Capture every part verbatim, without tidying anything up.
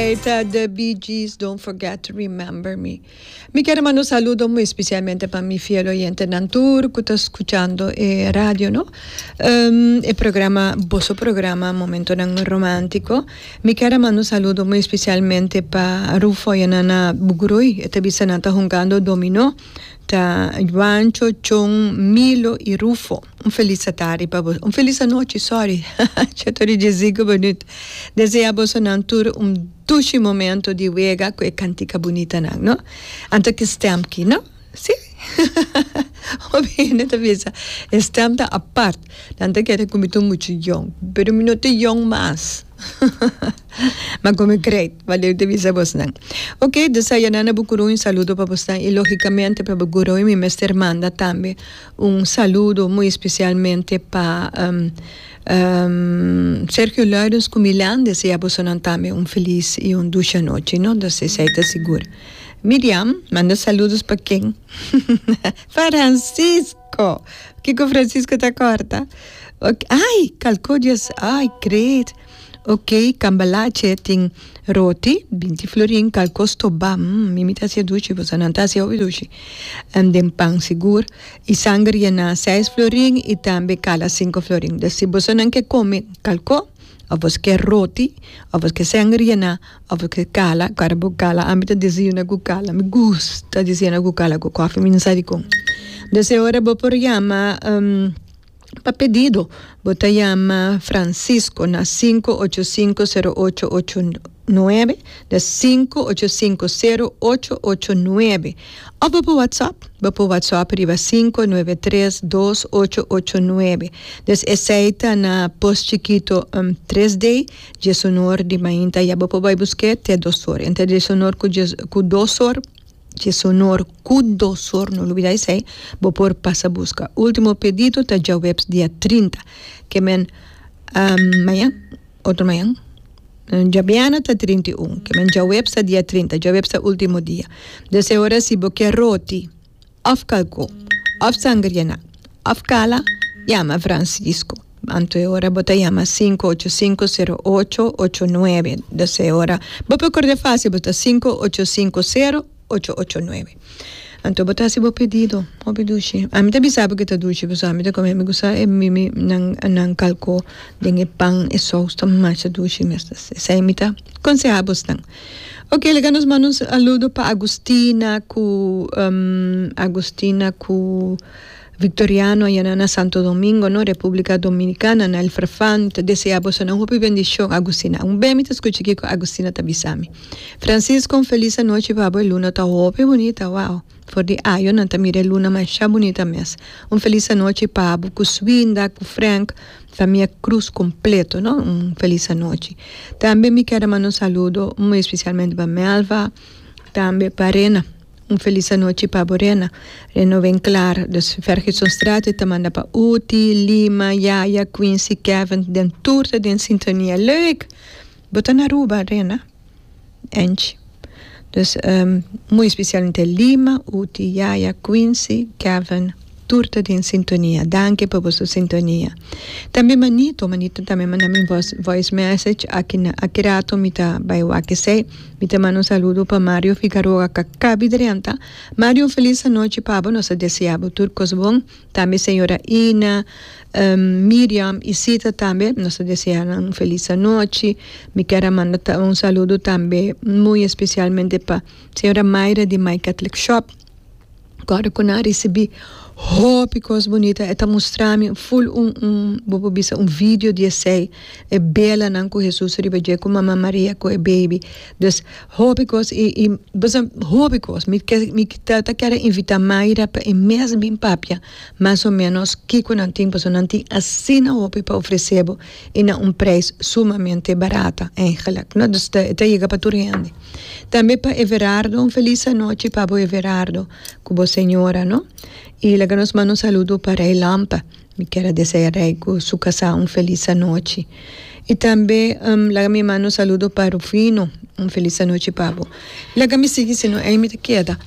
Ta The Bee Gees, "Don't Forget to Remember Me". Mi kier manda un saludo muy especialmente pa mi fiel oyentenan tur cu ta scuchando e radio, no? Um, e programa, boso programa Momento Romantico. Mi kier manda un saludo muy especialmente pa Rufo y Nana Bugrui, e ta bisa nan ta hungando domino. Ta Juancho, Chon, Milo y Rufo. Un feliz tardi pa boso. Un feliz nochi, sorry. Shete di cinco minuut. Desea boso nan tur un dushi momento di wega cu e cantica bunita nan, no? Anto cu stem aki, no? Si? Obviamente bisa. Stem ta apart. Nan ta kere cu mi ta mucho jong. Pero mi no ta jong mas. Maar como great, valeu te bisa bos nan. Ok, dus aya na Bucuru un saludo pa boso y logicamente pa Bucuru mi mester manda tambe un saludo muy especialmente pa um, um, Sergio Lourens cu Milan, desea boso tambe un feliz y un dushi nochi, no? Dus esey ta sigur. Miriam, manda saludos pa ken? Francisco. Kico Francisco ta corta? Ok. Ai, calcodias, ai, great. Ok, cambalache tin roti, binti florin, calco stoba, mm, mi ta haci dushi, bo nan ta haci dushi. Um, den pan sigur. Y sanger na seis florin y tambe cala cinco florin. Dus si bo nan kier come calco, of bo kier roti, of bo kier sanger na, of bo kier cala, cara bo cala, ami ta desayuna cu cala, mi gusta desayuna cu cala cu koffie, mi no sabi con. Dus ora bo por yama um, pa pedido, bo ta yama Francisco na cinco ocho cinco cero ocho ocho nuebe, dus cinco ocho cinco cero ocho ocho nuebe. Of bo por WhatsApp, bo por WhatsApp riba cinco nuebe tres dos ocho ocho nuebe. Dus esey ta na Pos Chiquito um, tres D, diesun or di mainta, ya bo por bay busca te dos or. Entre diesun or cu dos or, diesun or cu dos or, no lubida esey, bo por pasa busca. Ultimo pedido ta diahuebs dia trinta, kiermen um, mañan, otro mañan, diabierna ta trinta y un, kiermen diahuebs ta dia trinta, diahuebs ta ultimo dia. Dus ora si bo kier roti, of calco, of sanger yena, of cala, yama Francisco. Anto ora bo ta yama cinco ocho cinco cero ocho ocho nuebe. Dus ora, bo por corda facil, bo ta cinco ocho cinco cero ocho ocho nuebe. Anto bo ta haci bo pedido, hopi dushi. Ami tambe sabi cu ta dushi, pero ami ta come, mi gusta e mi mi nan nan calco den e pan e saus ta masha dushi mes. Esey mi ta conseha nan. Ok, laga nos manda un saludo pa Agustina cu um, Agustina cu Victoriano aya na Santo Domingo, no, Republica Dominicana, na El Farfán. Ta desea boso un hopi bendicion, Agustina. Un be mi ta scucha kico Agustina ta bisami. Francisco, un feliz nochi pa bo. Luna ta hopi bunita, wow. For di ayo nan ta mira luna masha bunita mes. Un feliz nochi pa bo, cu Swinda, cu Frank, famia Cruz completo, no? Un feliz nochi. Tambe mi kier manda un saludo muy especialmente pa Melva, tambe pa Rena. Un feliz nochi pa Rena. Rena ven klaar. Dus Fergusonstraat ta manda pa Uti, Lima, Yaya, Quincy, Kevin, den tur den sintonia. Leuk! Bo ta na Aruba, Rena. Angie. Dus um, muy especialmente Lima, Uti, Yaya, Quincy, Kevin, tur ta den sintonia. Danki pa boso sintonia. Tambe Manito, Manito tambe manda mi voice, voice message aki na aki rato mi ta bay wak esey. Mi ta manda un saludo pa Mario Figueroa cu a caba di drenta. Mario, feliz nochi pa bo, nos ta desea tur cos bon. Tambe señora Ina, um, Miriam y Sita tambe, nos ta desea un feliz nochi. Mi kier manda un saludo tambe muy especialmente pa señora Mayra di My Catholic Shop. Awor cu a ricibi hopi cos bunita, e ta mustra mi full un un bo bisa un video di esey e bela nan cu Jesus riba dje cu Mama Maria cu e baby. Dus hopi cos y y basta hopi cos mi kier mi ta ta kier invita Mayra pa e mes bin papia mas o menos kico nan tin, paso nan tin asina hopi pa ofrece bo y na un prijs sumamente barata eigenlijk, no? Dus ta, ta yega pa tur hende. Tambe pa Everardo, un feliz nochi pa bo, Everardo, cu bo señora, no? Y laga nos manda un saludo pa Rey Lampa. Mi kier desea Rey cu su casa un feliz nochi. Y tambe um, laga mi manda un saludo pa Rufino, un feliz nochi pa bo. Laga mi sigui, sino ey mi ta keda.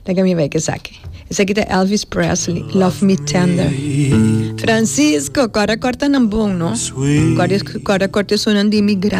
Laga mi bay cu esaki. Esaki ta Elvis Presley, "Love Me Tender". Francisco, corda corta nan bon, no? Corda corda corta sonan di migrante.